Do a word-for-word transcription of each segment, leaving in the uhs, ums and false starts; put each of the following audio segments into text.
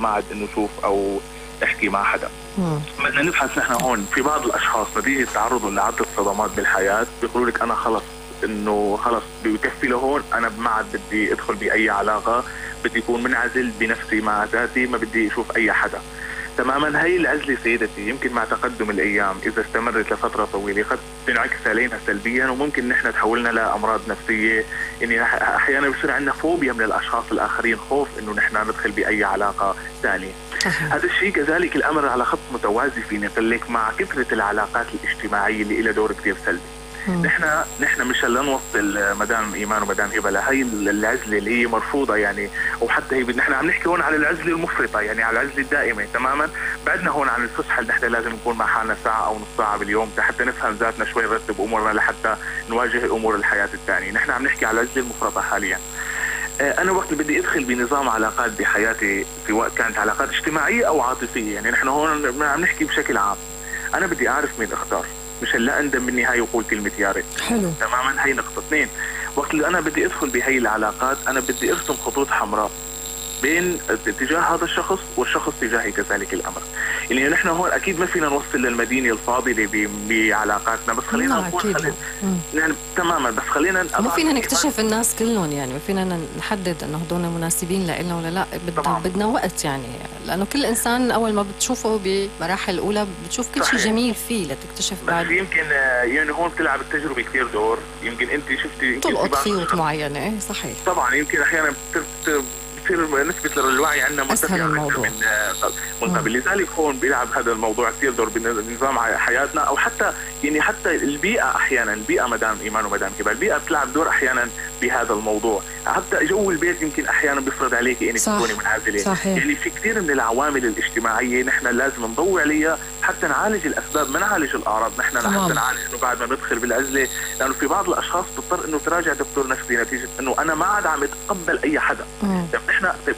ما عاد انه شوف او احكي مع حدا. بدنا نبحث نحن هون في بعض الاشخاص نتيجه تعرضهم لعده صدمات بالحياه بيقولوا لك انا خلص انه خلص بكفي لهون، انا ما عاد بدي ادخل باي علاقه، بدي اكون منعزل بنفسي مع ذاتي، ما بدي اشوف اي حدا. تماما هي العزله سيدتي يمكن مع تقدم الايام اذا استمرت لفتره طويله قد تنعكس علينا سلبيا، وممكن نحن تحولنا لامراض نفسيه. يعني احيانا بصير عندنا فوبيا من الاشخاص الاخرين، خوف انه نحن ندخل باي علاقه ثانيه. هذا الشيء كذلك الامر على خط متوازي فيني اقول لك مع كثره العلاقات الاجتماعيه اللي لها دور كثير سلبي. نحن نحن مش هلا نوصل مدام ايمان ومدام هبه لهي العزله اللي هي مرفوضه يعني، وحتى هي نحن عم نحكي هون على العزله المفرطه يعني على العزله الدائمه تماما. بعدنا هون عن الفسحه اللي نحن لازم نكون مع حالنا ساعه او نص ساعه باليوم حتى نفهم ذاتنا شوي، نرتب امورنا لحتى نواجه امور الحياه الثانيه. نحن عم نحكي على العزله المفرطه حاليا. انا وقت اللي بدي ادخل بنظام علاقات بحياتي سواء كانت علاقات اجتماعيه او عاطفيه، يعني نحن هون عم نحكي بشكل عام، انا بدي اعرف مين اختار، مش هلا اندم بالنهايه وقول كلمه يا ريت. حلو تماما. هي نقطه. اثنين، وقت اللي انا بدي ادخل بهي العلاقات انا بدي ارسم خطوط حمراء بين اتجاه هذا الشخص والشخص تجاهي كذلك الامر. يعني نحن هون اكيد ما فينا نوصل للمدينه الفاضله بعلاقاتنا، بس خلينا نقول خلينا يعني تماما بس خلينا مو فينا نكتشف الناس كلهم، يعني فينا نحدد انه هدول مناسبين لنا ولا لا. بدنا بدنا وقت يعني، لانه كل انسان اول ما بتشوفه بمراحل الاولى بتشوف كل شيء جميل فيه لتكتشف بعد. بس يمكن يعني هون بتلعب التجربه كثير دور، يمكن انت شفتي تلقط خيوط معينه. صحيح طبعا. يمكن احيانا بتصير نسبة الوعي عندنا مرتفعة من من قبل، لذلك هون بيلعب هذا الموضوع كثير دور بنظام حياتنا، او حتى يعني حتى البيئة احيانا، البيئة مدام ايمان ومدام هبه، البيئة بتلعب دور احيانا بهذا الموضوع. حتى جو البيت يمكن احيانا بيفرض عليك انك تكوني منعزلة. يعني في كثير من العوامل الاجتماعية نحن لازم نضوي عليها حتى نعالج الاسباب، ما نعالج الاعراض. نحن حتى نعالج انه بعد ما ندخل بالعزلة، لانه في بعض الاشخاص بتضطر انه تراجع دكتور نفسي نتيجة انه انا ما عاد عم اتقبل اي حدا. طيب نحن طيب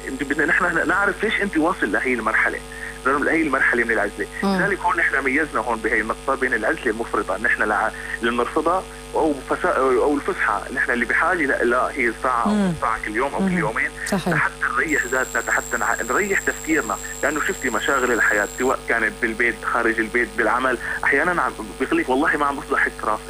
انت بدنا نحن نعرف ليش انت واصل لهي المرحله، لهي المرحله من العزله. لذلك هون نحن ميزنا هون بهي النقطه بين العزله المفرطه نحن اللي بنرفضها او او الفسحه نحن اللي بحاجه لا هي ساعه او ساعه كل يوم او كل يومين حتى نريح ذاتنا، حتى نريح تفكيرنا. لانه شفتي مشاغل الحياه سواء كانت بالبيت خارج البيت بالعمل، احيانا بيقول لك والله ما عم بصلح حتى راسي،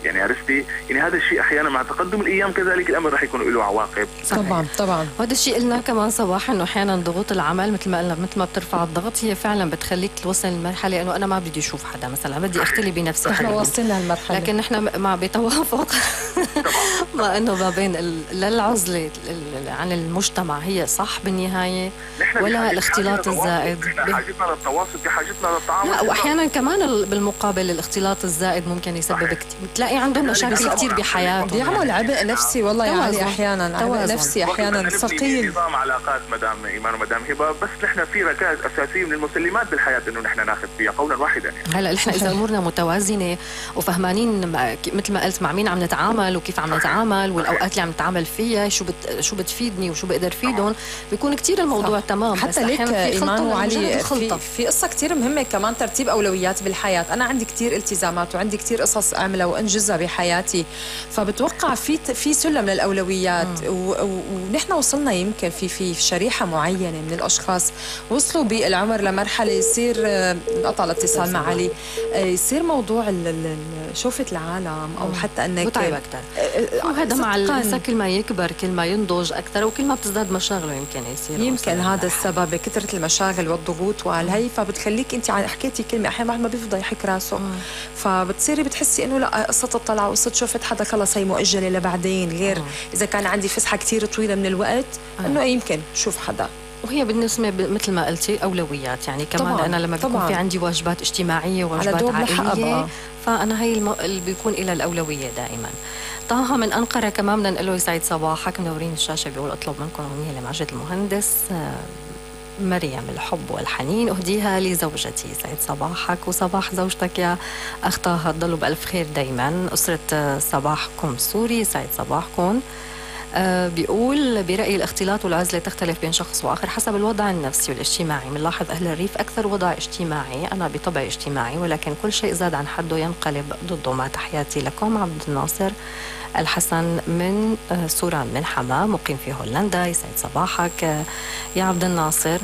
يعني عرفتي؟ يعني هذا الشيء احيانا مع تقدم الايام كذلك الامر رح يكون له عواقب. طبعا طبعا. وهذا الشيء قلنا كمان صباح انه احيانا ضغوط العمل مثل ما قلنا مثل ما بترفع الضغط هي فعلا بتخليك توصل لمرحله انه انا ما بدي اشوف حدا مثلا، بدي اختلي بنفسي. احنا واصلنا لهالمرحله، لكن نحن مع بتوافق ما انه ما بين للعزله عن المجتمع هي صح بالنهايه ولا الاختلاط الزائد. بحاجتنا للتواصل، بحاجتنا للتعامل. لا واحيانا كمان بالمقابل الاختلاط الزائد ممكن يسبب كتير، بتلاقي عندهم مشاكل كثير بحياتهم، بيعمل عبء نفسي. والله يا علي احيانا عبء نفسي احيانا ثقيل. نظام علاقات مدام ايمان ومدام هبه، بس نحن في ركائز اساسيه من المسلمات بالحياه انه نحن ناخذ فيها قولا واحدا. يعني هلا نحن اذا امورنا متوازنه وفهمانين مثل ما قلت مع مين عم نتعامل وكيف عم نتعامل والاوقات اللي عم نتعامل فيها شو بت شو بتفيدني وشو بقدر فيدهم، بيكون كثير الموضوع صح. تمام. حتى ليك ايمان وعلي في, في قصه كثير مهمه كمان، ترتيب اولويات بالحياه. انا عندي كثير التزامات وعندي كثير قصص اعملها وانجزها بحياتي، فبتوقع في في سلم للاولويات. ونحن وصلنا يمكن في في شريحه معينه من الاشخاص وصلوا بالعمر لمرحله يصير انقطع الاتصال مع علي، يصير موضوع شوفة العالم او حتى انك متعب اكثر. وهذا مع الانسان كل ما يكبر كل ما ينضج اكثر وكل ما بتزداد مشاغله يمكن يصير يمكن هذا السبب بكثره المشاغل والضغوط وهي. فبتخليك انت حكيتي كلمه احيانا واحد ما بيفضى يحك راسه، فبتصيري بتحسي انه لا قصه الطلعه وقصه شوفة حدا خلص هي مؤجله لبعدين، غير أوه. اذا كان عندي فسحه كثير طويله من الوقت أوه. انه يمكن شوف حدا. وهي بالنسبه مثل ما قلتي اولويات، يعني كمان طبعاً. انا لما بيكون في عندي واجبات اجتماعيه وواجبات عائليه فانا هي الم... اللي بيكون لها الاولويه دائما. طه من انقره كمان بدنا نقول له يسعد صباحك، منورين الشاشه. بيقول اطلب منكم اغنيه لماجد المهندس مريم الحب والحنين أهديها لزوجتي. سعيد صباحك وصباح زوجتك يا أخ طه، تضلوا بألف خير دايما. أسرة صباحكم سوري، سعيد صباحكم. آه بيقول برأيي الاختلاط والعزلة تختلف بين شخص وآخر حسب الوضع النفسي والاجتماعي. بنلاحظ أهل الريف أكثر وضع اجتماعي، أنا بطبعي اجتماعي ولكن كل شيء زاد عن حده ينقلب ضده. مع تحياتي لكم عبد الناصر الحسن من آه سوران من حماه مقيم في هولندا. يسعد صباحك آه يا عبد الناصر.